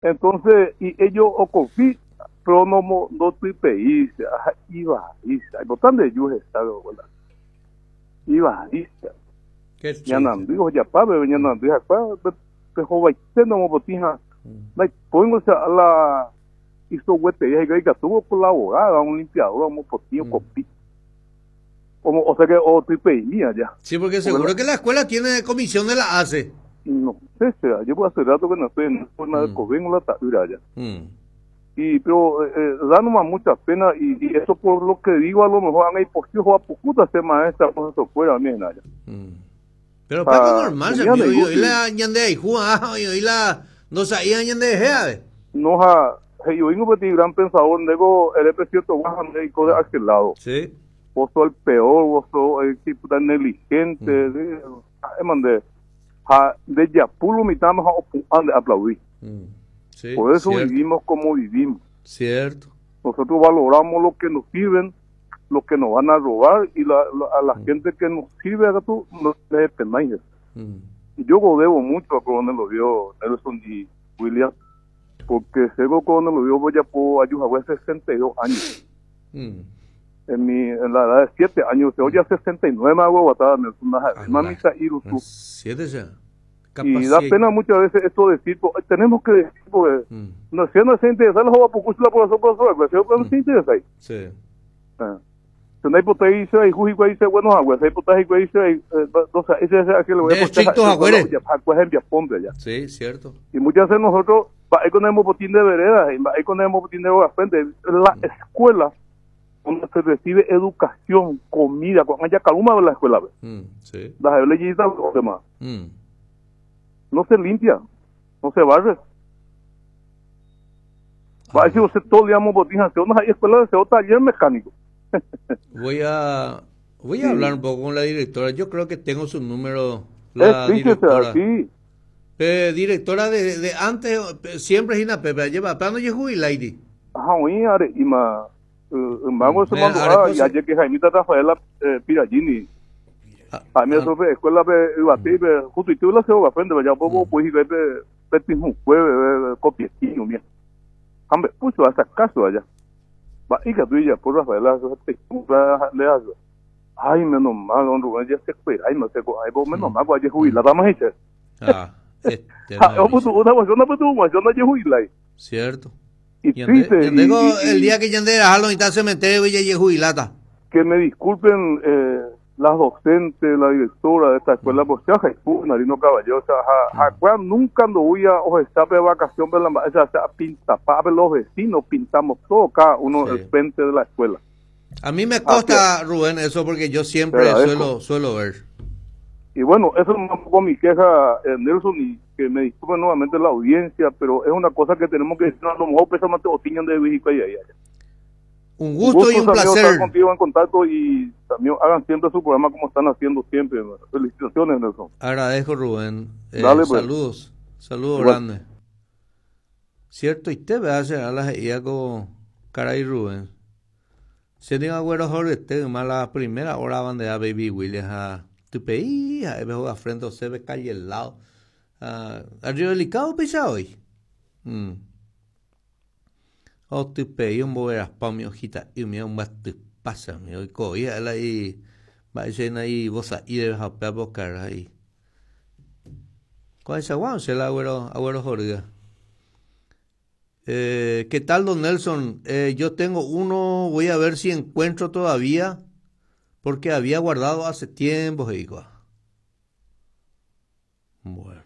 Entonces, y ellos okopi, pero no ndotypei, ivai, aipota ndeju hesa abuela. Ivai. Ñanandy ojapa pe ñanandy hakua pe hovaite nomopotĩ ha ndaipóingo o la isoguetei ha ikatu ocolaborar un limpiador omopotĩ okopi. O sea que otypeimi allá. Sí, porque seguro que la escuela tiene comisión de la ACE. No sé, sea, yo hace rato que no estoy en forma de mm. la ta'ýra allá. Y pero da nomás mucha pena y eso por lo que digo a lo mejor han imposible a pujuta ser maestra por eso fuera mí allá. Pero Paco normal, se y la ñande ahí y la no sabía ñande de No ha yo vengo petit gran pensador nego el cierto baja médico de aquel lado. Sí. Vos sos el peor, vos sos el tipo tan negligente, mm. mandé ja de yapulo mitad más a aplaudir. Sí, Por eso cierto. vivimos como vivimos. Cierto. Nosotros valoramos lo que nos sirven, lo que nos van a robar y a la gente que nos sirve acá tú no le penáis. Y yo debo mucho a Coronel Oviedo, Nelson y William, porque sé que Coronel Oviedo voy a puedo ayudar a 62 años. En la edad de 7 años, se oye a 69 más guaguatada, Nelson, mamita Irutu. 7 ya. Y da pena muchas veces esto decir, pues, tenemos que decir, porque no sé, no se interesa, los jóvenes, por eso, por eso, por eso, no se interesa ahí. Sí. Ah. Se no hay por ahí, se hay jugo, ahí se bueno, agua, se hay por ahí, se hay, o sea, ese es el que le voy a De poner, estrictos ese, agüeres. ya, agua es en Viaponte, ya. Sí, cierto. Y muchas veces nosotros, va, ahí con el botín de vereda, y va, ahí con el botín de frente, la escuela donde se recibe educación, comida, con allá caluma de la escuela, ve. Sí. Las leyes los demás. No se limpia, no se barre. Va a decir usted todo el día botín, hace unas escuelas de taller mecánico. Voy a Sí. hablar un poco con la directora. Yo creo que tengo su número, la Es triste, o sea, directora. sí. Directora de antes, siempre es Gina Pepe, lleva plano y jubilaidi. Ajá, oí, are, y ma, vamos a mandar, Are ah, y cosa. ayer que Jaimita Rafaela Piragini. Ah, A mí ah. eso fue escuela de Ibatí, de justo y tú la se va frente, ya poco, pues, y ve, ve, ve, un jueves, ve, ve, copietino, mira. Hambre, puso hasta caso allá. Va, y que tú ya, por Rafaela, eso es te cumpla, le hace. Ay, menos mal, don Rubén, ya se fue, ay, no sé, ay, vos, menos mal, pues, ayer jubilada, vamos a decir. Ah, este, Ah, no, yo puse una cuestión, una cuestión, una cuestión, una jubilada. Cierto. Y Y ande, triste, y ande y, con y, el y día que Yande a lo mitad cementerio Villa y jubilata. Que me disculpen las docentes, la directora de esta escuela, pues ya Jesús, Narino Caballero, o sea, ja, ja, nunca ando voy a o escape de vacación, pero la, o sea, o sea, pinta, pa, los vecinos pintamos todo cada uno Sí. el frente de la escuela. A mí me consta, Así es. Rubén, eso porque yo siempre Te agradezco. suelo ver. Y bueno, eso es un poco mi queja, Nelson, y que me disculpen nuevamente la audiencia, pero es una cosa que tenemos que decir, a lo mejor pesa más te de México y ahí, allá. Un gusto y un amigo, estar placer. contigo en contacto y también hagan siempre su programa como están haciendo siempre. Felicitaciones, Nelson. Agradezco, Rubén. Dale, pues. Saludos. Saludos Igual. grandes. Cierto, y te ve a hacer a la IA con Caray Rubén. Se diga agüero sobre este, más la primera hora van de a Baby Williams a tu país, a ver juega frente a se ve calle al lado. Ah, arriba del Icao pisa hoy. O tu país, un boberas pa mi hojita y mi un bate pasa mi hoy co y la y va a ser ahí vos ahí de japea bocar ahí. ¿Cuál es agua? Se la agüero, agüero jorga. ¿Qué tal, don Nelson? Yo tengo uno, voy a ver si encuentro todavía, porque había guardado hace tiempo, digo. Bueno.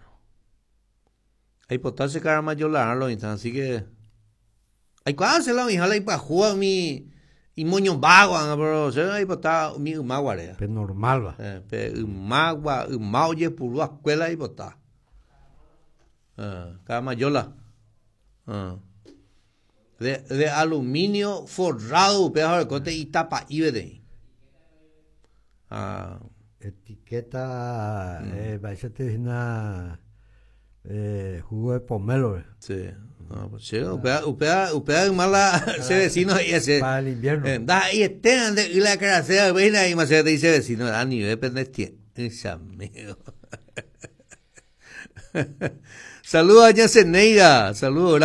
Ahí potarse cara mayor la lo instante, así que... Ay, ¿cuál se la hija? La ipa juega mi... Y moño vago, anga, pero se la ipa está mi umaguarea. Pe normal, va. Pe umagua, umaoye, purúa, escuela y potá. Cara mayola. De aluminio forrado, pedazo de cote y tapa IBD. Ah. Etiqueta, va a ser una jugo de pomelo. Sí. No, pues sí, upea, mala, ese vecino y ese. Para el invierno. Da, y este, ande, y la cara sea, ven ahí, más te dice vecino, a nivel pendiente, ese amigo. Saludos a doña Zeneida, saludos grande.